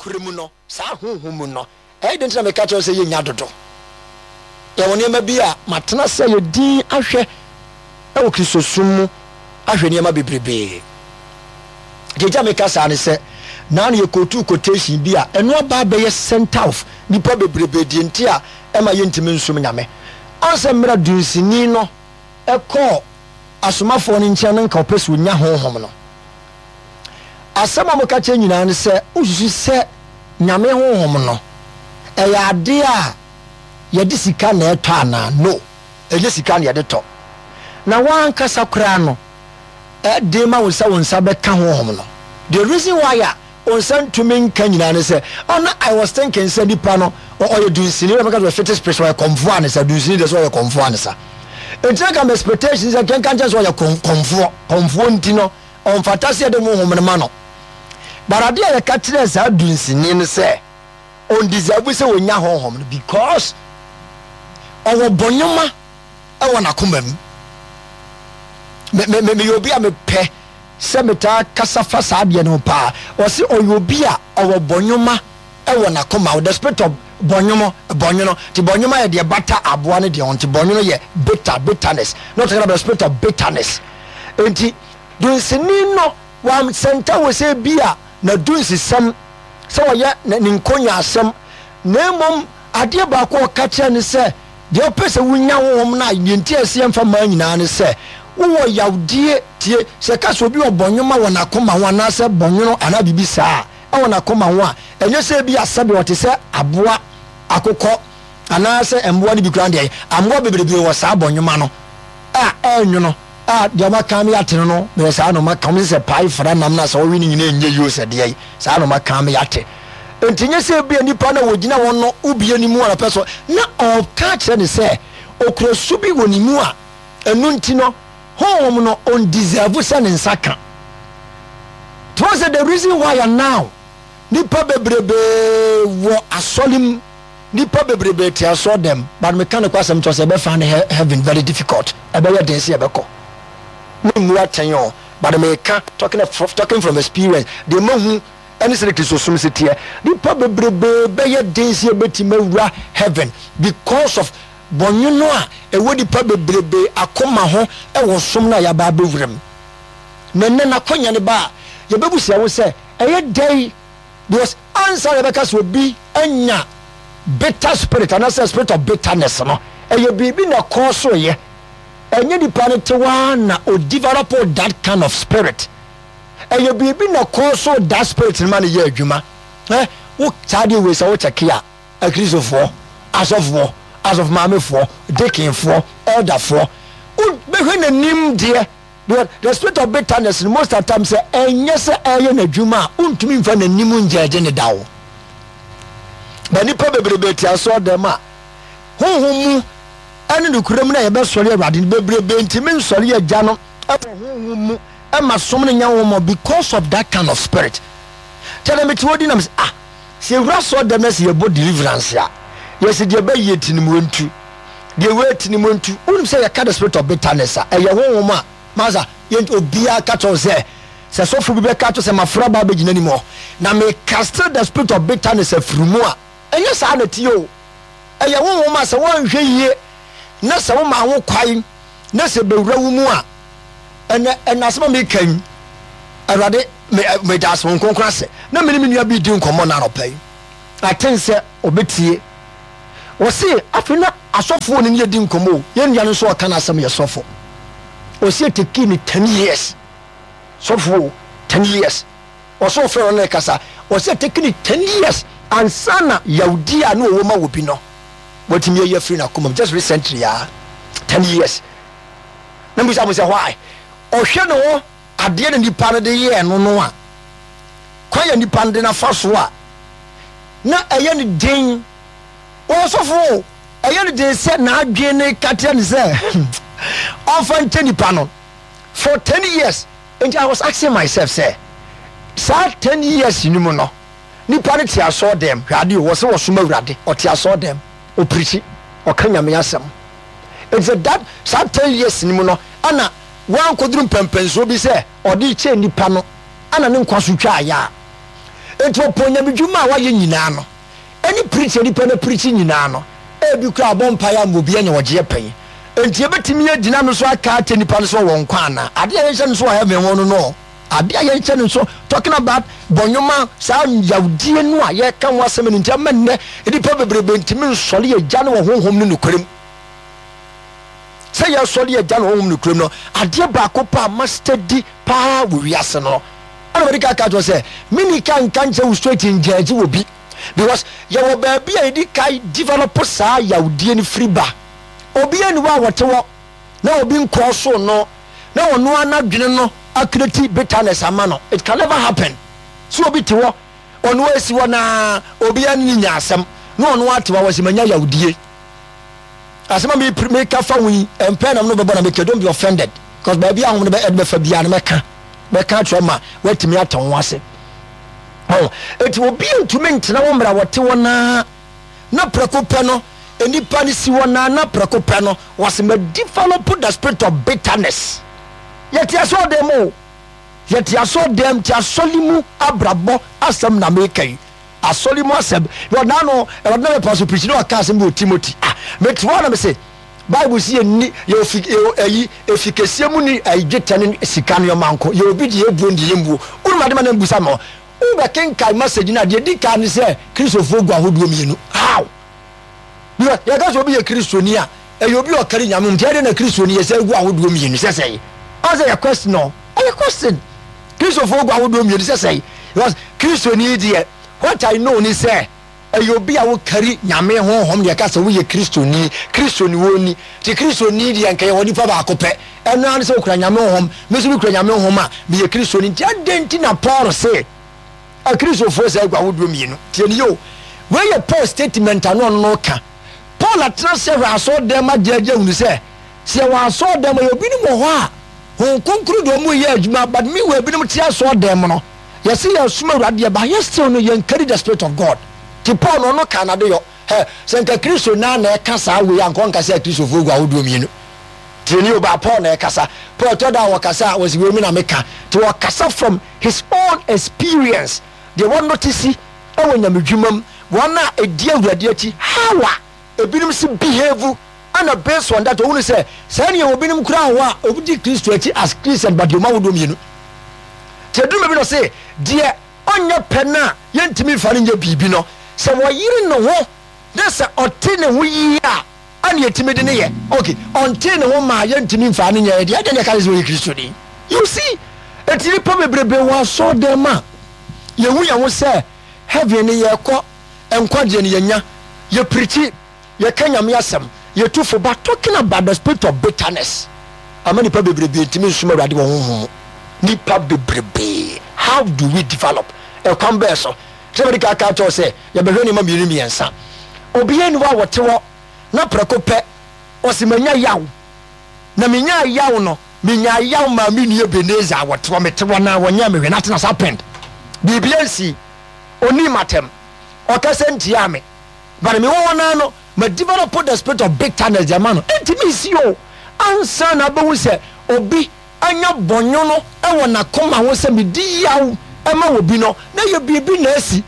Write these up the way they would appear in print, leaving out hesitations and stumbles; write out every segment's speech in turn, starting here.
nokorɛ mu no, saa honhom mu no, ɛyɛ den nti na meka kyerɛ wo sɛ yɛnnya dodo. Yɛwɔ nneɛma bi a matena ase ayɛ dinn ahwɛ wɔ Kristosom mu, ahwɛ nneɛma bebrebee. Deɛ nti a meka saa ne sɛ, naa no yɛkootuu quotation bi a ɛno aba abɛyɛ center of nnipa bebrebee deɛ nti a ɛma yɛntumi nsom Nyame. Ɔn sɛ mmerɛ dunsini no kɔɔ asomafoɔ no nkyɛn no nka ɔpɛ sɛ ɔnya Honhom no. Asɛm a wɔka kyerɛ nyinaa ne sɛ, wosusu sɛ Nyame Honhom no, ɛyɛ adeɛ a yɛde sika na ɛtɔ anaa? No, ɛnyɛ sika na yɛde tɔ. Na w'ankasa koraa no, ɛden ma wo sɛ wo nsa bɛka Honhom no. The reason why a wo nsa ntumi nka nyinaa ne sɛ, oh, na I was thinking sɛ nipa no, ɔyɛ dunsini, na mɛka sɛ ɔyɛ fetish priest, ɔyɛ kɔmfoɔ anesa, dunsini deɛ sɛ ɔyɛ kɔmfoɔ anesa. Enti na nka me expectation sɛ nka nkyɛn sɛ ɔyɛ kɔmfoɔ, kɔmfoɔ nti no, ɔmfata sɛ yɛde honhom no ma no. But adeɛ a yɛka kyerɛɛ saa dunsini no sɛ ɔndeserve sɛ ɔnya honhom no because ɔwɔ bɔnwoma wɔ n'akoma mu. Me, me, me, meyɛ obi a mepɛ sɛ metaa kasa fa saa adeɛ no ho paa. Ɔse ɔyɛ obi a ɔwɔ bɔnwoma wɔ n'akoma, the spirit of bɔnwomo, bɔnwono. Nti bɔnwoma yɛ deɛ bata aboa no deɛ ho, nti bɔnwono yɛ bitter, bitterness. Not talking about the spirit of bitterness. Nti dunsini no wansɛnta wɔ sɛ bi a na dunsisɛm sɛ ɔyɛ ne nkonyaasɛm, na mmom adeɛ baako a ɔka kyerɛ ne sɛ deɛ ɔpɛ sɛ wonya honhom no a deɛ nti a ɛsɛ yɛmfa maa nyinaa ne sɛ wowɔ yawdie. Tie, sɛ ɛka sɛ obi wɔ bɔnwoma wɔ n'akoma ho anaasɛ bɔnwono anaa biribi saa a, wɔ n'akoma ho a, ɛnyɛ sɛ ebia sɛdeɛ ɔte sɛ aboa, akokɔ, anaasɛ mmoa no bi koraa deɛ, mmoa bebrebe wɔ saa bɔnwoma no a ɛnwono a deɛ wɔaka me ate no no, meyɛ saa na wɔaka wɔn sɛ pae fra nam no a sɛ wɔwe no nyinaa ɛnyɛ yie o sɛ deɛ saa na wɔaka me ate. Nti nyɛ sɛ ebia nipa no a wɔgyina hɔ no wobie ne mu a ɔpɛ so na ɔka kyerɛ ne sɛ okura su bi wɔ ne mu a ɛno nti no Honhom no ɔndeserve sɛ ne nsa ka. Nti wohu sɛ the reason why a now nipa bebrebee wɔ asɔre mu, nipa bebrebee te asɔre dɛm, but meka no kwasɛm kyerɛ sɛ yɛbɛfa ne heaven very difficult, ɛbɛyɛ den sɛ yɛbɛkɔ. Me mmu atɛn o, but meka talking, talking from experience, deɛ mahu ɛne sɛdeɛ Kristosom si teɛ, nipa bebrebee bɛyɛ den sɛ yɛbɛtumi awura heaven because of Bɔnwono a ɛwɔ nnipa bebrebe akoma ho wɔ som no a yɛaba abɛwura mu. Na ɛnnɛ n'akwanya no ba a, yɛbɛbisa wo sɛ, ɛyɛ dɛn? Because ansa na yɛbɛka sɛ obi anya bitter spirit anaasɛ spirit of bitterness no, ɛyɛ biribi na ɛkɔɔ so yɛ. Ɛnyɛ nipa no te hɔ ara na o develop that kind of spirit. Ɛyɛ biribi na ɛkɔɔ so that spirit no ma no yɛ adwuma. Eh, wo saa deɛ wei sɛ wo kyɛke a, Akristofoɔ, asɔfoɔ, asɔfomaamefoɔ, deaconfoɔ, elderfoɔ, wo bɛhwɛ n'anim deɛ, because the spirit of bitterness no most of the time sɛ ɛnyɛ sɛ ɛyɛ n'adwuma a, wontumi nfa n'anim ngyɛgye ne da o. Ba nipa bebrebe te asɔre dɛm a, honhom mu ɛne nokorɛ mu na yɛbɛsɔre Awurade no bebrebe ntumi nsɔre Agya no ɛwɔ honhom mu ɛma som no nyɛ honhom because of that kind of spirit. Kyɛ na mete hɔ di nam sɛ ah Sɛ yɛwura asɔɔdɛm na sɛ yɛbɔ deliverance a, yɛse deɛ bɛyɛ ti no mu ntu, deɛ wei ti no mu ntu. Wonim sɛ yɛka the spirit of bitterness a, ɛyɛ honhom a, masa, yɛn obiara ka kyerɛ wo sɛ, sɛ sɔfo bi bɛka kyerɛ sɛ mafra ba abɛgyina anim hɔ, na me cast the spirit of bitterness afiri mu a, ɛnyɛ saa na ɛteɛ o. Ɛyɛ honhom a sɛ woanhwɛ yie na sɛ woma ho kwan na sɛ bɛwura wo mu a, ɛnɛ ɛnɛ asɛm a meka yi, Awurade me meda ase wɔn kronkron ase na me ne me nua bi di nkɔmmɔ na anɔpa yi aten sɛ ɔbɛtie. Wɔse afei na asɔfoɔ no ne yɛdi nkɔmmɔ o, yɛn nua no nso ɔka n'asɛm yɛ sɔfo. Ɔse ɛtekii ne 10 years, sɔfo o, 10 years. Ɔse ɔfrɛ no ne kasa, ɔse ɛtekii ne 10 years ansa na yawdi a na ɔwɔ ma wɔ bi no watumi ayi afiri n'akoma mu, just recently a 10 years. Na mbisa mo sɛ why? Ɔhwɛ ne ho adeɛ na nipa no de yɛɛ no no a, kwan a nipa no de no afa so a, na ɛyɛ no den. Ɔsɔfo o, ɛyɛ no den sɛ n'adwene no ka kyerɛ no sɛ ɔmfa nkyɛ nipa no for 10 years. Nti I was asking myself sɛ, saa 10 years no mu no, nipa no te asɔɔ dɛm, hwɛ adeɛ o, wɔsɛ wɔsom Awurade, ɔte asɔɔ dɛm, ɔpirikyi, ɔka Nyame asɛm. Nti sɛ that saa 10 years no mu no, ɛna wankoduru mpɛnpɛnsoɔ bi sɛ ɔde rekyɛ nnipa no ana ne nkwa so twaeɛ a. Enti ɔpɔn nyamedwuma a wayɛ nyinaa no, ɛne preach a nipa no preach nyinaa no, ebi koraa abɔ mpaeɛ ama obi anya ɔgyeɛ pɛn. Enti yɛbɛtumi agyina no so aka akyerɛ nipa no sɛ ɔwɔ nkwa anaa? Adeɛ a yɛnhyɛ no so wɔ heaven ho no no, adeɛ a yɛnhyɛ no so, talking about bɔnwoma, saa yawdie no a yɛka ho asɛm no nti ama nnɛ nnipa bebrebe ntumi nsɔre Agya no wɔ honhom ne nokorɛm. Sɛ yɛsɔre Agya no honhom nokorɛm no, adeɛ baako pɛ a ma steady paa wɔ wiase no, ɛna mede ka ka kyerɛ sɛ menni ka nka nkyerɛ wo straight ngyɛɛgye wɔ bi because yɛwɔ baabi a yɛdi ka develop saa yawdie no firi ba. Obi ani hɔ a wɔte hɔ na obi nkɔɔ so no na ɔno ara n'adwene no acreate bitterness ama no. It can never happen. Sɛ obi te hɔ, ɔno ara si hɔ na obiara ne no nya asɛm na ɔno ara te hɔ a wɔsi manya yawdie. Asɛm a meka fa ho yi, mpɛn na no bɛbɔ na meka, don't be offended because baabi a ahom no bɛ ɛde bɛfa biara no mɛka mɛka akyerɛ ma watumi ate ho ase. Ɔn, eti obi ntumi ntena hɔ mmerɛ a wɔte hɔ naa na prɛko pɛ no nnipa no si hɔ naa na prɛko pɛ no wɔsi ma develop the spirit of bitterness. Yɛte asɔɔdan mu o, yɛte asɔɔdan te asɔre mu abrabɔ asɛm na meka yi. Asɔre mu asɛm. Yɛ ɔdaa no, Awurade na mɛpa so pirikyi na ɔka asɛm bi wɔ Timothy. Ah, mete hɔ na mese, Bible si yɛ ni, yɛ ofi, yɛ ayi, efi kɛseɛ mu ni ayi dwetɛ ne sika nneɛma nko. Yɛ obi deɛ ebuo ne deɛ yɛmbuo. Wonim ade ma na mbusa me hɔ. Wobɛkenkan message no a, deɛ di kan ne sɛ Kristofoɔ gu ahodoɔ mmienu. How? Because yɛka sɛ obi yɛ Kristoni a, ɛyɛ obi a ɔkari Nyame mu. Nti ɛdeɛ na Kristoni yɛ sɛ gu ahodoɔ mmienu sɛ sɛe? Ɔn sɛ yɛ question no, ɛyɛ question. Kristofoɔ gu ahodoɔ mmienu sɛ sɛe? Because Kristoni deɛ, what I know ne sɛ, ɛyɛ obi a wokari Nyame honhom na yɛka sɛ woyɛ Kristoni. Kristoni wɔnni. Nti Kristoni deɛ nka yɛwɔ nipa baako pɛ. Ɛno ara ne sɛ wokura Nyame honhom. Me nso mekura Nyame honhom a, meyɛ Kristoni. Nti adɛn nti na Paul se Akristofoɔ saa gu ahodoɔ mmienu? Tie no yie o. Wei yɛ Paul statement a na ɔno no reka. Paul atena ase ahwɛ asɔredan mu agyaagyaa hunu sɛ, sɛ yɛwɔ asɔredan mu a, yɛwɔ binom wɔ hɔ a, Honhom Kronkron de wɔn reyɛ adwuma, but meanwhile binom te asɔredan mu no, yɛse yɛresom Awurade deɛ, but yɛ still no yɛn carry the spirit of God. Nti Paul no ɔno kaa n'adeyɔ. Hɛ, sɛ nka Kristo naa na ɛka saa wei a, nka ɔnka sɛ Akristofoɔ gu ahodoɔ mmienu. Tie nie o, but Paul na ɛkasa. Paul ɛtɔ da a ɔkasa a, ɔse wei me na meka. Nti ɔkasa from his own experience, deɛ wa notice wɔ nyamedwuma mu, wɔn a ɛdi Awurade akyi, how a ebinom si behave, ɛna based on that ɔhunu sɛ saa nea obinom koraa wɔ hɔ a wɔdi Kristo akyi as Christian but deɛ wɔn ahodoɔ mmienu. Nti ɛduru baabi na ɔse deɛ ɔnyɛ pɛ no a yɛntumi mfa no nyɛ biribi no, sɛ wɔyere ne ho na sɛ ɔte ne ho yie a ɛna yɛtumi de no yɛ. Ok, ɔntee ne ho maa yɛntumi mfaa no nyɛɛ deɛ, ɛdeɛ na ɛka ne sɛ ɔyɛ Kristoni. You see, enti nnipa bebrebe wɔ asɔɔdan mu a yɛhu yɛn ho sɛ heaven no yɛkɔ, nkwagyeɛ no yɛnya, yɛpirikyi, yɛka Nyame asɛm, yɛtu fo, but talking about the spirit of bitterness ama nnipa bebrebe ntumi nsom Awurade wɔ honhom mu. Nnipa bebrebe, how do we develop? Ɛkwan bɛɛ so? Sɛ mede ka ka kyerɛ wo sɛ yɛbɛhwɛ nneɛma mmienu mmiɛnsa. Obiara nni hɔ a wɔte hɔ na prɛko pɛ ɔse manya yaw. Na menyaa yaw no, menyaa yaw maa me nua Ebenezer a wɔte hɔ, mete hɔ na wɔnyɛɛ me hwee, nothing has happened. Biribiara nsii. Ɔnnii m'atɛm. Ɔkasa ntiaa me. But mewɔ hɔ naa no, ma develop the spirit of bitterness de ama no. Ɛntumi nsi o. Ansa na abɛhu sɛ obi anya bɔnwono wɔ n'akoma ho sɛ medi yaw ma obi no, na ɛyɛ biribi na asi.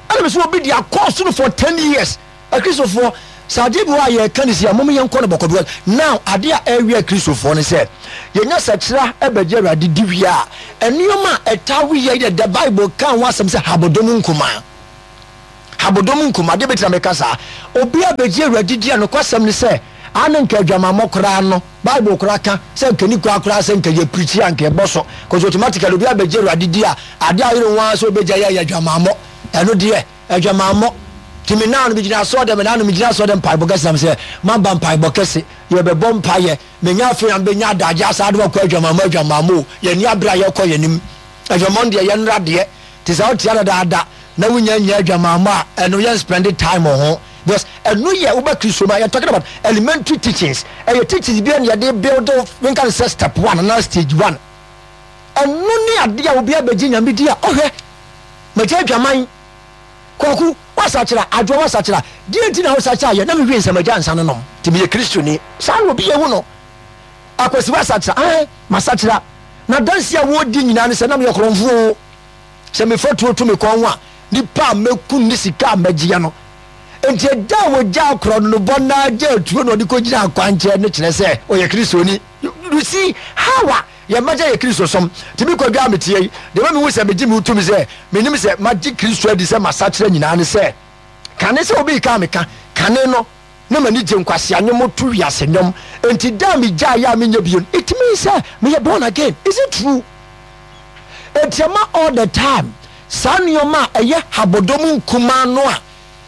Ɛna me sɛ obi de akɔ soro for 10 years. Akristofoɔ, sɛ adeɛ bi wɔ a yɛreka no si a, mom yɛnkɔ no bɔkɔ because now adeɛ a ɛrewe akristofoɔ no sɛ yɛnya sakyera bɛgye Awurade di wie a, nneɛma a ɛtaa we yɛ yɛ the Bible ka ho asɛm sɛ habodom nkumaa. Habodom nkumaa, adeɛ bɛti na meka saa. Obi a bɛgye Awurade di a nokwasɛm ne sɛ a na nka adwamammɔ koraa no Bible koraa ka sɛ nka ni koraa koraa sɛ nka yɛ pirikyi a nka ɛbɔ so cause automatically obi a bɛgye Awurade di a adeɛ a ɔyere ho ara sɛ ɔbɛgya yɛ yɛ adwamammɔ ɛno deɛ Adwamammɔ. Nti me naano megyina asɔɔdɛm, me naano megyina asɔɔdɛm mpaebɔ kɛse na mesɛ maba mpaebɔ kɛse, yɛbɛbɔ mpaeɛ, menya afei na mebɛnya adagye asaa de wakɔ adwamammɔ, adwamammɔ o, yɛnni abere a yɛkɔ yɛn anim. Adwamammɔ no deɛ yɛnnora deɛ, nti sɛ wote adadaada na wonya nnya adwamammɔ a, ɛno yɛn spend time wɔ ho because ɛno yɛ woba Kristo mu a, yɛ talking about elementary teachings, ɛyɛ teachings bi a na yɛde build wo, menka no sɛ step one anaa stage one. Ɛno ne adeɛ a obi abɛgye Nyame di a ɔhwɛ. Magya adwaman. Kwaku, woasakyera? Adwoa, woasakyera? Deɛn nti na wosakyera yɛ? Na mewie nsa magya nsa no nom, nti meyɛ Kristoni. Saa na obi yɛ hu no. Akwasi, woasakyera? Aane, masakyera. Na adanseɛ a wɔredi nyinaa ne sɛ na meyɛ korɔmfoɔ o. Sɛ mefa tuo to me kɔn ho a, nipa a mɛku ne sika a mɛgyeɛ no. Enti ɛda a wɔgyaa korɔnobɔ no ara gyaa tuo na ɔde kɔgyinaa kwankyɛn no kyerɛ sɛ ɔyɛ Kristoni. You see how a yɛn mma gya yɛ Kristosom. Nti me Kwadwo a meteɛ yi, deɛ ɛma mehu sɛ megye me ho tom sɛ menim sɛ magye Kristo adi sɛ masakyera nyinaa ne sɛ, kane sɛ obi reka a meka, kane no na m'ani gye nkwasea nnwom to wiase nnwom, enti da a megyaeɛ a menyɛ bio no, it means sɛ meyɛ born again. Is it true? Enti ɛma all the time saa nneɛma a ɛyɛ habɔdɔm nkumaa no a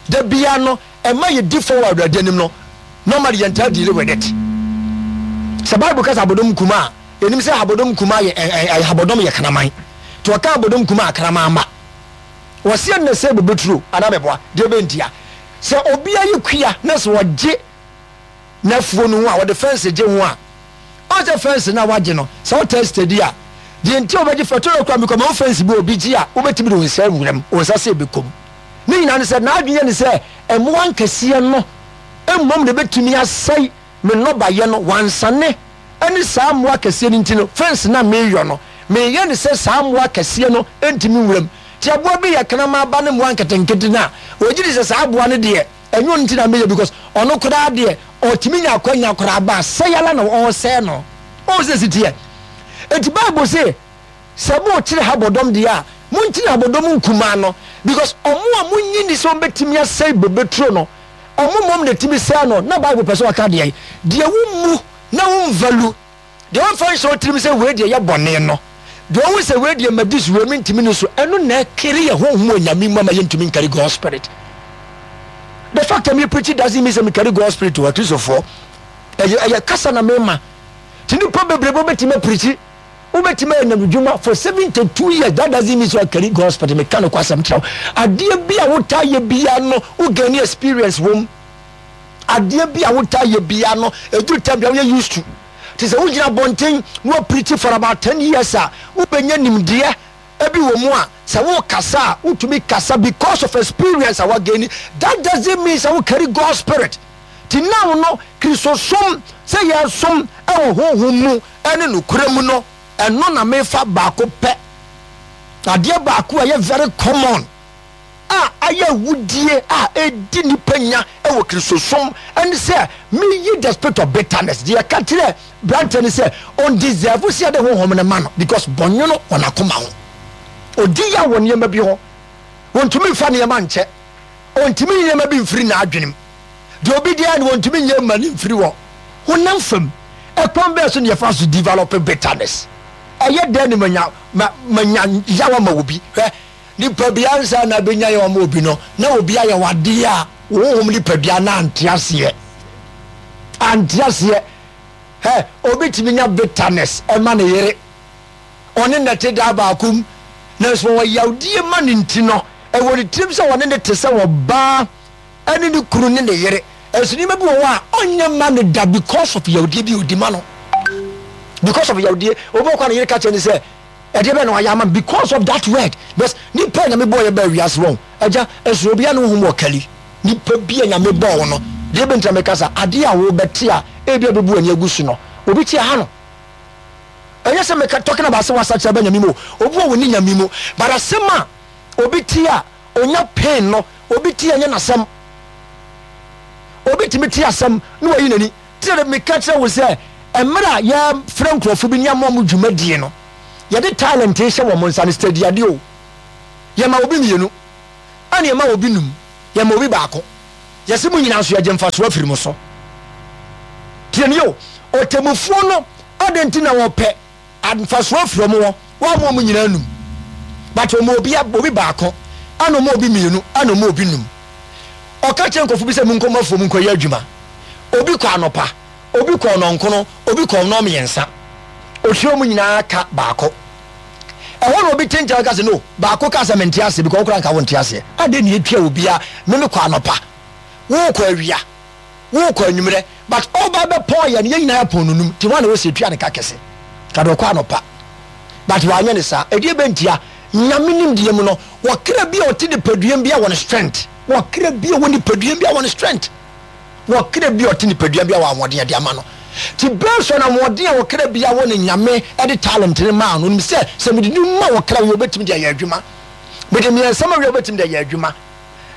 da biara no ɛma yɛdi fɔ wɔ Awurade anim no, normally yɛntaa deal with it. Sɛ Bible ka sɛ abɔdɔm nkumaa a, yɛnim sɛ abɔdɔm nkumaa yɛ ɛ ɛ abɔdɔm yɛ kraman. Nti wɔka abɔdɔm nkumaa a kraman mma. Wɔse ɛnna sɛ bobeturo anaa mɛboa, deɛ bɛntia. Sɛ obi ayɛ kua na sɛ ɔgye n'afuo no ho a, ɔde fɛnse gye ho a, ɔn sɛ fɛnse no a wagye no, sɛ wotaa steady a, deɛ nti a wobɛgye fɛ, tɔrɔ kura mekɔ mahu fɛnse bi a obi gye a, wobɛtumi de wo nsa awura mu, wo nsa sɛ ɛbɛkɔ mu. Ne nyinaa ne sɛ, n'adwene yɛ ne sɛ mmoa nkɛseɛ no mmom na ɛbɛtumi asɛe me nnɔbaeɛ no, wansane ne saa mmoa akɛseɛ no nti no, fɛnse no a mereyɔ no, mereyɛ no sɛ saa mmoa akɛseɛ no ntumi nwura mu. Nti aboa bi yɛ kraman ba ne mmoa nketenkete no a, ɔgye di sɛ saa aboa no deɛ, ɛnyɛ ɔno nti na meyɛ because ɔno koraa deɛ, ɔtumi nya akwanya koraa ba a, sɛe ara na ɔresɛe no. Wohu sɛ ɛsi teɛ? Nti Bible se, sɛ morekyere habɔdɔm deɛ a, monkyere habɔdɔm nkumaa no because ɔmo a monnye nni sɛ wɔbɛtumi asɛe bobeturo no, ɔmo mmom na ɛtumi sɛe no. Na Bible pɛ sɛ ɔka deɛn? Deɛ wommu na womvalu, deɛ womfa nhyɛ wo tirim sɛ wei deɛ yɛ bɔne no, deɛ wohu sɛ wei deɛ madi so, wei mentumi ni so, ɛno na ɛkere yɛ honhom wɔ Nyame mu ama yɛntumi nkari God spirit. The fact that me preach doesn't mean sɛ mekari God spirit o, Akristofoɔ. Ɛyɛ ɛyɛ kasa na mema. Nti nnipa bebrebe wobɛtumi apirikyi, wobɛtumi ayɛ nyamedwuma for 72 years, that doesn't mean sɛ wakari God spirit. Meka nokwasɛm kyerɛ wo. Adeɛ bi a wotaa yɛ biara no, wo gain experience wom. Adeɛ bi a wotaa yɛ biara no, ɛduru time bi a woyɛ used to. Te sɛ wogyina abɔnten na woapirikyi for about 10 years a, wobɛnya nimdeɛ bi wɔ mu a, sɛ wokasa a, wotumi kasa because of experience a woagaini. That doesn't mean sɛ wo carry God spirit. Nti now no, Kristosom sɛ yɛresom wɔ honhom mu ne nokorɛ mu no, ɛno na mefa baako pɛ. Adeɛ baako a ɛyɛ very common a ayɛ awudie a ɛdi nipa nya wɔ Kristosom ne sɛ meyi the spirit of bitterness. Deɛ yɛka kyerɛ branteɛ ne sɛ ɔndeserve sɛ yɛde honhom no ma no because bɔnwono wɔ n'akoma ho. Ɔdi yaw wɔ nneɛma bi ho. Ɔntumi mfa nneɛma nkyɛ. Ɔntumi nyi nneɛma bi mfiri n'adwenem. Deɛ obi de ayɛ no wɔntumi nyɛ mma no mfiri hɔ. Honam fam, ɛkwan bɛn so na yɛfa so develop bitterness? Ɛyɛ dɛn na manya ma manya yaw ama obi? Hwɛ, nipadua ansa na abɛnya yaw ama obi no, na obi ayɛ wo adeɛ a wo honhom nipadua no ante aseɛ. Ante aseɛ. Hɛ, obi tumi nya bitterness ɛma ne yere. Ɔne no te daa baako mu, nanso wɔwɔ yawdie ma no nti no, ɛwɔ ne tirim sɛ ɔne no te sɛ ɔbaa ne ne kunu ne ne yere. Nso nneɛma bi wɔ hɔ a ɔnyɛ mma no da because of yawdie bi a ɔdi ma no. Because of yawdie. Obi wɔ kɔ a ne yere ka kyerɛ no sɛ, ɛdeɛ bɛn na wayɛ ama me because of that word. Because nipa a Nyame bɔɔ yɛ baa wiase wɔn, agya, ɛsono obiara ne honhom wɔ kali. Nipa bi a Nyame bɔɔ wo no, deɛ bɛnti na meka saa, adeɛ a wobɛte a ebi a bɛbu w'ani agu so no, obi te aha no. Ɛnyɛ sɛ meka talking about sɛ wasakyera aba Nyame mu o, obi wɔ wɔnni Nyame mu, but asɛm a obi te a onya pain no, obi te a ɛnyɛ n'asɛm. Obi tumi te asɛm na wayi n'ani. Te sɛ meka kyerɛ wo sɛ mmerɛ a yɛfrɛ nkurɔfo bi ne ama wɔn dwumadie no, yɛde talent hyɛ wɔn nsa no, steady adeɛ o. Yɛma obi mmienu, ɛna yɛma obi num, yɛma obi baako. Yɛse mo nyinaa nso yɛgye mfasoɔ afiri mo so. Tie nie o, ɔtemmufoɔ no adɛn nti na wɔpɛ mfasoɔ afiri wɔn hɔ? Wɔamma wɔn nyinaa num, but wɔma obi obi baako, ɛna wɔma obi mmienu, ɛna wɔma obi num. Ɔka kyerɛ nkurɔfoɔ bi sɛ monkɔ mo afuom nkɔyɛ adwuma. Obi kɔ anɔpa, obi kɔ nnɔnkono, obi kɔ nnɔnmiɛnsa. Ɔtua wɔn nyinaa ka baako. Ɛhɔ na obi te nkyɛn ka sɛ no, baako ka sɛ mente aseɛ because wo koraa nka wonte aseɛ. Adɛn na yɛtua obiara, me mekɔ anɔpa, wokɔ awia, wokɔ anwummerɛ, but ɔba bɛpɔn yɛn no, yɛn nyinaa yɛpɔn no num, nti hwan na ɛwɔ sɛ yɛtua ne ka kɛse? Ka deɛ ɔkɔ anɔpa. But wanyɛ ne saa. Ɛdeɛ bɛn ntia? Nyame nimdeɛ mu no, wɔkra bi a ɔte nipaduam bi a wɔ ne strength. Wɔkra bi a ɔwɔ nipaduam bi a wɔ ne strength. Wɔ kra bi a ɔte nipadua bi a wɔ ahoɔden a ɛde ama no. Nti based on ahoɔden a ɔkra bi wɔ no Nyame de talent no maa no, onim sɛ sɛ mede no ma ɔkra wei ɔbɛtumi de ayɛ adwuma. Mede mmiɛnsa ma wie a wobɛtumi de ayɛ adwuma.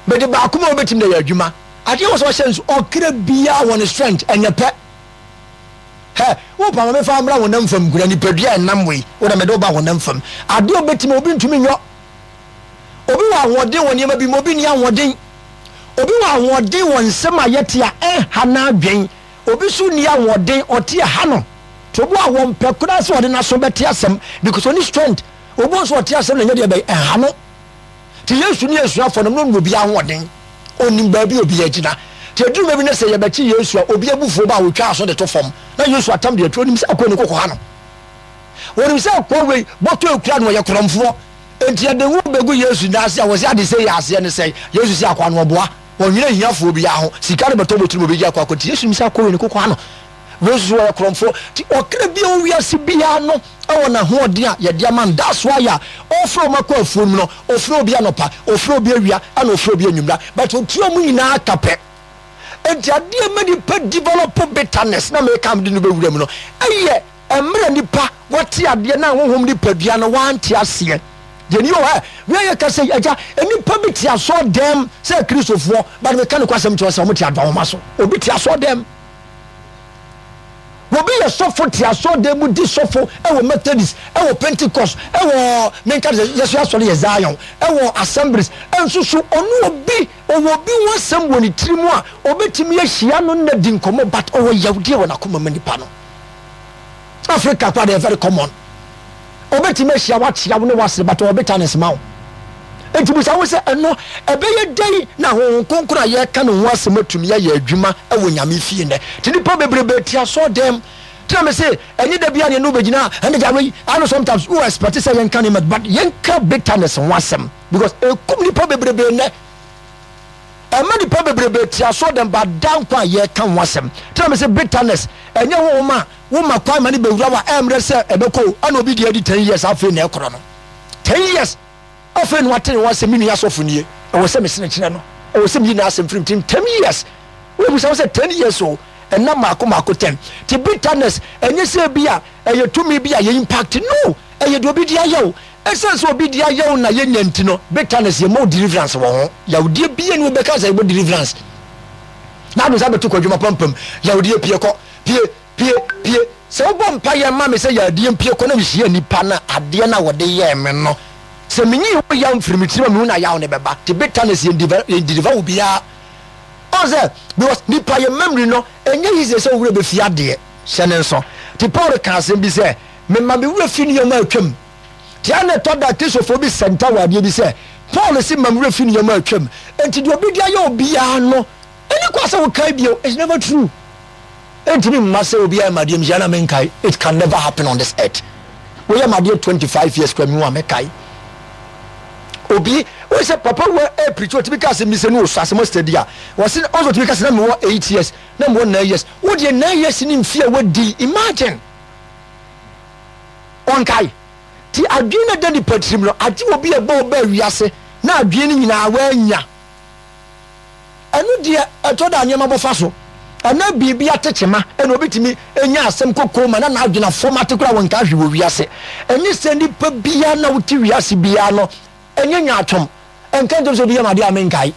Mede baako ma wobɛtumi de ayɛ adwuma. Adeɛ wɔ sɛ ɔhyɛ nso ɔkra biara wɔ ne strength ɛnyɛ pɛ. Hɛ, wo pa ma mefa mmra honam fam nkura nipadua a ɛnam wei, wo na mede wo ba honam fam. Adeɛ obɛtumi obi ntumi nyɔ. Obi wɔ ahoɔden wɔ nneɛma bi mu, obi nni ahoɔden. Obi wɔ ahoɔden wɔ nsɛm a yɛte a ɛnha n'adwen. Obi nso nni ahoɔden, ɔte ɛha no. Nti obi wɔ a wɔmpɛ koraa sɛ ɔde n'aso bɛte asɛm because ɔnni strength. Obi wɔ nso ɔte asɛm na ɛnyɛ deɛ ɛbɛyɛ ɛha no. Nti Yesu ne asuafoɔ no, na ɔnim obiara ahoɔden. Ɔnim baabi a obiara gyina. Nti ɛduru baabi na sɛ yɛbɛkye Yesu a, obi abufuo ba a, ɔtwa aso de to fam. Na Yesu atam deɛ atu. Ɔnim sɛ akoa ni koko ha no. Ɔnim sɛ akoa wei bɔtɔ ekura no, ɔyɛ korɔmfoɔ. Enti yɛde ngo bɛgu Yesu nan ase a, wɔse ade sei yɛ aseɛ ne sɛn? Yesu se akoa no ɔboa. Ɔnwene ahiafoɔ biara ho. Sika no bɛtɔ bɔtiri mu ɔbɛgye akoa kɔ. Nti Yesu nim sɛ akoa wei ne koko ano. Wei nso so ɔyɛ korɔmfoɔ. Nti ɔkra bi a ɔwɔ wiase biara no wɔ n'ahoɔden a yɛde ama no. That's why a ɔfrɛ wɔn akɔ afuo no mu no, ɔfrɛ obi anɔpa, ɔfrɛ obi awia, ɛna ɔfrɛ obi anwummera. But ɔtua wɔn nyinaa ka pɛ. Enti adeɛ a ɛma nipa develop bitterness na meka mede no bɛwura mu no, ɛyɛ Mmerɛ nipa wate adeɛ na honhom nipadua no wante aseɛ. Deɛ ni o ɛ, wei yɛ kasa yi, agya, nnipa bi te asɔɔ dɛm sɛ Kristofoɔ, but meka no kwasɛm kyerɛ sɛ wɔn te adwahoma so. Obi te asɔɔ dɛm. Obi yɛ sɔfo te asɔɔ dɛm mu di sɔfo ɛwɔ Methodist, ɛwɔ Pentecost, ɛwɔ menka sɛ yɛso asɔre yɛ Zion, ɛwɔ Assemblies, ɛnso so ɔno obi ɔwɔ obi ho asɛm wɔ ne tiri mu a ɔbɛtumi ahyia no na di nkɔmmɔ, but ɔwɔ yawdeɛ wɔ n'akoma ma nipa no. Africa koraa deɛ very common. Obetumi ahyia wo akyea wo ne w'asere but ɔwɔ bitterness ma wo. Enti bisa wo sɛ ɛno ɛbɛyɛ dɛn na Honhom Kronkron a yɛreka ne ho asɛm atumi ayɛ adwuma wɔ Nyame fie nnɛ? Nti nnipa bebrebe te asɔɔdɛm. Nti na mese ɛnyɛ da biara na yɛne wo bɛgyina a ɛnde gya wei. I know sometimes wo expect sɛ yɛnka nneɛma but yɛnka bitterness ho asɛm because ɛkum nnipa bebrebe nnɛ. Ɛma nnipa bebrebe te asɔɔdɛm ba daa nkwa a yɛreka ho asɛm. Nti na mese bitterness ɛnyɛ honhom a woma kwan ma no bɛwura wo a ɛmmerɛ sɛ ɛbɛkɔ o. Ɛna obi deɛ adi ten years afei na ɛkorɔ no. Ten years afei na wate ne ho asɛm me nua sɔfo nie ɛwɔ sɛ mesene kyerɛ no ɛwɔ sɛ meyi n'asɛm firi me tirim ten years. Wobisa wo sɛ ten years o ɛna mmaako mmaako ten. Nti bitterness ɛnyɛ sɛ bi a ɛyɛ tumi bi a yɛ impact no ɛyɛ deɛ obi de ayɛ wo. Esiane sɛ obi de ayɛ wo na yɛnya nti no, bitterness yɛmmɔ wo deliverance wɔ ho. Yawdeɛ biara ni wobɛka sɛ yɛbɔ deliverance. Na ade nsa bɛto kɔ adwuma pampam. Yawdeɛ pie kɔ, pie, pie, pie. Sɛ wobɔ mpaeɛ ma me sɛ yadeɛ mpie kɔ na mehyia nipa no a, adeɛ no a wɔde yɛɛ me no, sɛ menyi ho yaw mfiri me tirim a mehu na yaw no bɛba. Nti bitterness yɛn deliver wo biara. Ɔn sɛ, because nipa yɛ memory no, ɛnyɛ easy sɛ wo werɛ bɛfi adeɛ. Hyɛ ne nso. Nti Paul ka asɛm bi sɛ, mema me werɛ fi nneɛma a atwam. Tia na ɛtɔ da a Kristofo bi sɛnta wɔ adeɛ bi sɛ, Paul se ma me werɛ fi nneɛma a atwam, enti deɛ obi de ayɛ obiara no, ɛni kwa sɛ wokae bio. It's never true. Ɛntumi mma sɛ obi ayɛ me adeɛ mehyia na menkae. It can never happen on this earth. Woyɛ me adeɛ 25 years kora mehu a mɛkae. Obi, woyɛ sɛ papa wɔ ɛpirikyi otumi ka asɛm bi sɛ ne ɔsɔ asɛm ɔsɛ a, wɔse ɔsɛ otumi ka sɛ na mewɔ 8 years, na mewɔ 9 years. Wo deɛ 9 years ne mfie a wadi, imagine. Ɔnkae. Nti adwene no a ɛda nipa tirim no, agye obi a ɛbɔ ɔbaa wiase na adwene no nyinaa wannya. Ɛno deɛ ɛtɔ da a nneɛma bɔ fa so. Ɛnɛ biribi atekyema ɛna obi tumi nya asɛm kɔ koma na n'adwene afɔmate koraa wɔnkae hwee wɔ wiase. Ɛnyɛ sɛ nipa biara na wote wiase biara no ɛnyɛ nyaatwom. Ɛnka nkyerɛ me sɛ obi yɛ me adeɛ a menkae.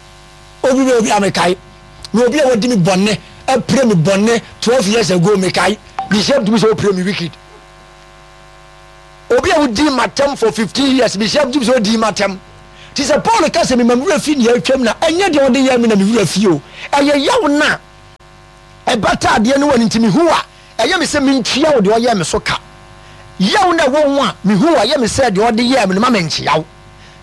Obi bɛyɛ obi a mekae. Na obi a wadi me bɔne, apire me bɔne 12 years ago mekae. Mehyia tumi sɛ wopire me wicked. Obi a wodii m'atɛm for 15 years, mehyia tumi sɛ wodii m'atɛm. Nti sɛ Paul ka sɛ mema me werɛ fi nea atwam na ɛnyɛ deɛ ɔde yɛɛ me na me werɛ fi o. Ɛyɛ yaw no a ɛbata adeɛ no wɔ no nti mehu a ɛyɛ me sɛ mentua wo deɛ ɔyɛɛ me so ka. Yaw no a ɛwɔ ho a mehu a ɛyɛ me sɛ deɛ ɔde yɛɛ me no ma menkyea wo.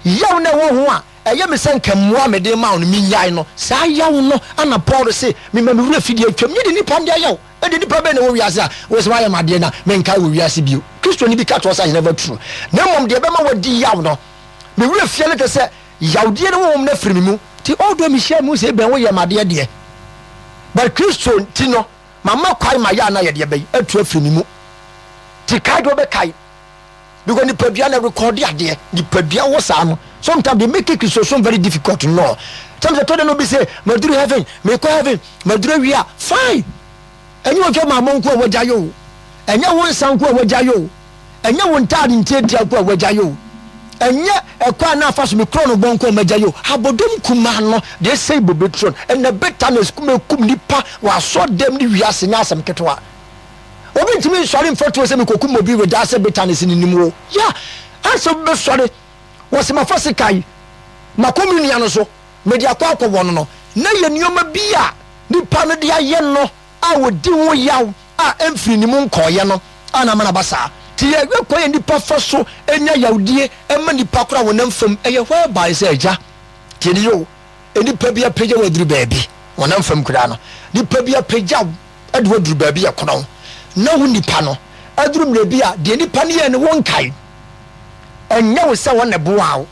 Yaw no a ɛwɔ ho a ɛyɛ me sɛ nka mmoa a mede rema wo no minnyae no, saa yaw no na Paul se, Mema me werɛ fi deɛ atwam, nye deɛ nnipa de ayɛ wo. Ɛnde nnipa bɛn na ɛwɔ wiase a wose wɔayɛ me adeɛ na menkae wɔ wiase bio? Kristoni bi ka to hɔ sɛ, I never true. Na mmom deɛ ɛbɛma wadi yaw no, me werɛ fie no kyerɛ sɛ yawdie no honhom no afiri me mu. Nti although mehyia mehu sɛ ebɛn woyɛ me adeɛ deɛ, but Kristo nti no, mama kwan ma yaw no ayɛ deɛ bɛn? Atu afiri me mu. Nti kae deɛ wobɛkae. Because nipadua na rekɔde adeɛ. Nipadua wɔ saa no. Sometimes they make it Kristosom very difficult no. Sometimes ɛtɔ da no obi say maduru heaven, mekɔ heaven, maduru awia. Fine. Ɛnyɛ otwa maamo nko a wagya yɛ o. Ɛnyɛ wo nsa nko a wagya yɛ o. Ɛnyɛ wo ntaade ntiatia nko a wagya yɛ o. Ɛnyɛ ɛkwan a na afa so me korɔ no bɔ nko a magya yi o. Abɔdɔm kumaa no deɛ ɛsɛe bobe turo no. Ɛnna bitterness kum ɛkum nnipa wɔ asɔrdan ne wiase nyɛ asɛm ketewa. Obi ntumi nsɔre mfa tuo sɛ mekɔkum obi without sɛ bitterness no nim wo. Yeah, ansa obi bɛsɔre wɔse mafa sekan makɔ me nua no so mede akɔ akɔwɔ no no na yɛ nneɛma bi a nipa no de ayɛ no a ɔdi ho yaw a ɛmfiri ne mu nkɔeɛ no a na ama no aba saa. Nti yɛhwɛ kwan a nnipa fa so nya yawdie ma nnipa koraa honam fam, ɛyɛ whereby sɛ agya, tie ne yie o, nnipa bi apagya wo aduru baabi, honam fam koraa no, nnipa bi apagya wo de wo aduru baabi a ɛkorɔn, na wo nipa no aduru mmerɛ bi a deɛ nipa no yɛɛ no wonkae, ɛnyɛ wo sɛ wɔn na ɛboaa wo,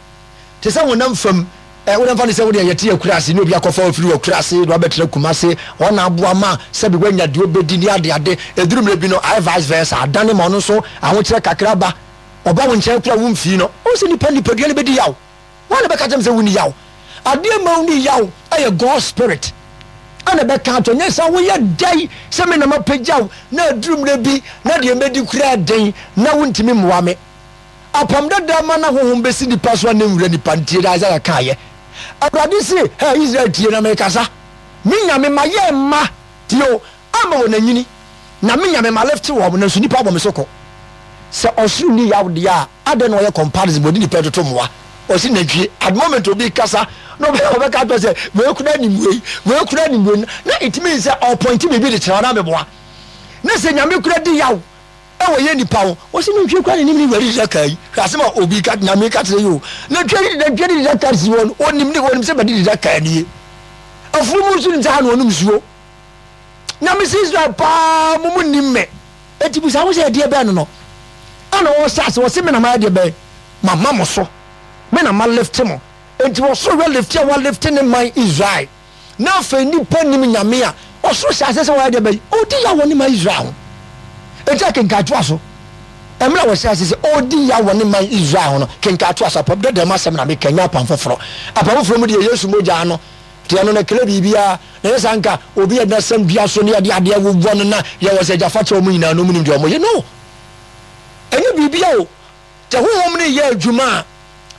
Te sɛ honam fam ɛ, wode mfa no sɛ wodeɛ yɛte akuraase ne obi akɔfa wo firi w'akuraase de wabɛtena Kumase, hɔ na aboa ma sɛbi woanya deɛ wobɛdi ne adeade. Ɛduru mmerɛ bi no, ayɛ vice versa, adane ma ɔno nso ahokyerɛ kakra ba, ɔba wo nkyɛn koraa womfii no. Wohu sɛ nipa nipadua no bɛdi yaw. Hwan na ɛbɛka kyerɛ me sɛ wonni yaw? Adeɛ ma wonni yaw yɛ God spirit ɛna ɛbɛka ato nyɛ sɛ woyɛ dɛn sɛ me na mapagya wo na aduru mmerɛ bi na deɛ mɛdi koraa den na wontumi mmoa me. Apam dada ma na honhom besi nipa so a na nwura nipa ntie deɛ Isaiah kaeɛ. Awurade se, Hɛ, Israel tie na merekasa. Me Nyame, mayɛ mma, tie o, ama wɔn anyini, na me Nyame, malifte wɔn, nanso nnipa abɔ me so ko. Sɛ ɔsoro nni yaw deɛ a, adɛn na ɔyɛ comparison, ɔde nipa retoto mmoa? Ɔse nantwie, at the moment obi rekasa na ɔbɛka akyerɛ sɛ wei koraa nim wei, wei koraa nim wei, na it means sɛ ɔɔpɔinte biribi de kyerɛ wo anaa meboa? Na sɛ Nyame koraa di yaw Ɛwɔ yɛ nipa ho. Wɔsi nantwie kura n'anim ne wura didi daka yi. Hwɛ asɛm a obi ka nyame ka kyerɛ yi o. Nantwie didi nantwie didi daka si hɔ no onim ne onim sɛ bɛdidi daka nie. Afunumu nso nim sɛ ha na ɔnom nsuo. Nyame si Israel paa mo mo nim me. Eti busa ho sɛ ɛdeɛ bɛn no no. Ɛna ɔhyɛ ase ɔsi me na mayɛ deɛ bɛn mama mo so. Me na ma lift mo. Enti ɔsoro hwɛ lift a wa lift ne man Israel. Na afei nnipa nnim Nyame a ɔsoro hyɛ aseɛ sɛ wɔyɛ deɛ bɛn? Ɔredi yaw wɔ ne man Israel ho. Enti akenkan toa so. Mmerɛ a wɔhyɛ aseɛ sɛ ɔredi yaw wɔ ne man Israel ho no, kenkan toa so. Apam dada mu asɛm na meka, ɛnyɛ apam foforɔ. Apam foforɔ mu deɛ Yesu mogya no deɛ ɛno no ɛkra biribiara. Na ɛnyɛ saa nka obi a n'asɛm dua so ne yɛde adeɛ wowɔ no na yɛwɔ sɛ agya fa kyɛ wɔn nyinaa no wɔn nim deɛ wɔyɛ. No. Ɛnyɛ biribiara o. Sɛ honhom no reyɛ adwuma a,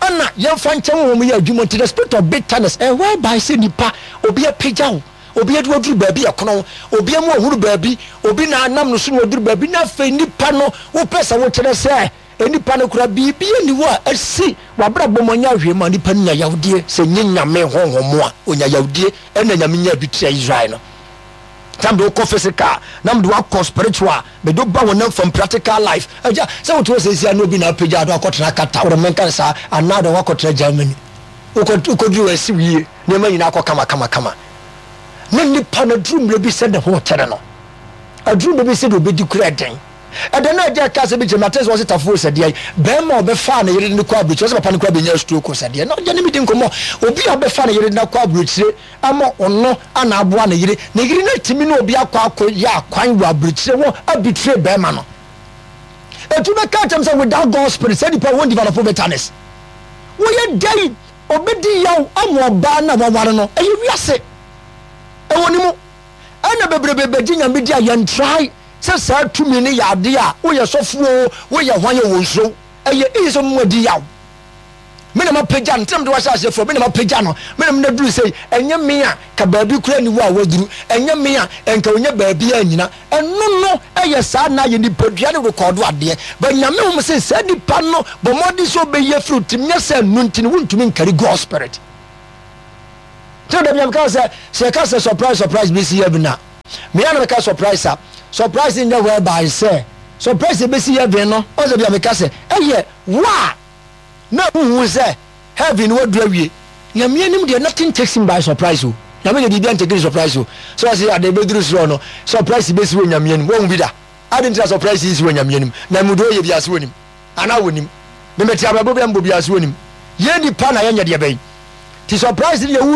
ɛna yɛmfa nkyɛ honhom yɛ adwuma nti the spirit of bitterness ɛyɛ whereby sɛ nipa obi apagya wo, obi ade waduru baabi ɛkono, obi ama wahunu baabi, obi na anam no so na waduru baabi na afei nipa no wopɛ sɛ wokyerɛ sɛ nipa no kora biribi ani hɔ a asi wabrabɔ mu anya hwee ma nipa no nya yawdie sɛ nye Nyame honhom a onya yawdie ɛna Nyame nya bi tia Israel no. Na mede wo kɔ physical na mede wo akɔ spiritual mede wo ba honam fam practical life agya sɛ wote hɔ seesia na obi na apagya ado akɔtena Qatar wode menka no saa anaa de wakɔtena Germany wokɔduru hɔ asi wo yie nneɛma nyinaa akɔ kama kama kama na nipa no aduru mmerɛ bi sɛ ne ho kyɛre no aduru mmerɛ bi sɛ deɛ ɔbɛdi kura ɛden ɛdɛ na agya ka sɛ bi kyerɛ mate sɛ ɔse tafoɔ sɛ deɛ bɛrima a ɔbɛfaa ne yere de no kɔ aburokyire ɔsɛ papa no kora bɛnya stroke sɛ deɛ na ɔgya ne medi nkɔmmɔ obi a ɔbɛfa ne yere de no akɔ aburokyire ama ɔno ana aboa ne yere, ne yere no atumi ne obi akɔ akɔ yɛ akwan wɔ aburokyire hɔ abitire bɛrima no. Etu bɛka kyɛm sɛ without God spirit sɛ nipa wɔn develop bitterness. Wɔyɛ dɛn obedi yaw ama ɔbaa na waware no ɛyɛ wiase ɛwɔ ne mu ɛna bebrebe bɛgye Nyame di a yɛn try sɛ saa tumi no yɛ adeɛ a woyɛ sɔfoɔ woyɛ hwan yɛ wɔn nsuro ɛyɛ easy sɛ ɔmo adi yaw. Me na mapagya no, nti na mede wo ahyɛ aseɛ frɛ, me na mapagya no, me na mede no aduru sei, ɛnyɛ me a, ka baabi koraa nni hɔ a waduru, ɛnyɛ me a, nka ɔnya baabi annyina. Ɛno no yɛ saa na yɛ nipadua no rekɔɔdo adeɛ, but Nyame hom se saa nipa no bɔ mmɔden sɛ ɔbɛyi afiri wo tirim, nyɛ sɛ ɛno nti no wontumi nkari God spirit. Nti na da bi a meka sɛ, sɛ yɛka sɛ surprise surprise bɛsi heaven a, me a na meka surprise a, surprise nyɛ whereby sɛ surprise ɛbɛsi heaven no, ɔsɛ bi a meka sɛ ɛyɛ wo a na wohu sɛ heaven no waduru awie. Nyame anim deɛ nothing takes him by surprise o. Nyame deɛ biribiara ntake no surprise o. Sɛ ɔse ade bɛduru soro no, surprise bɛsi wɔ Nyame anim. Woahu bi da? Ade nti na surprise nsi wɔ Nyame anim? Nyame deɛ ɔyɛ biara so ɔnim. Anaa ɔnim? Me mete abrabɔ bi a mebɔ biara so ɔnim. Yɛn nipa na yɛnyɛ deɛ bɛn? Nti surprise no deɛ wo.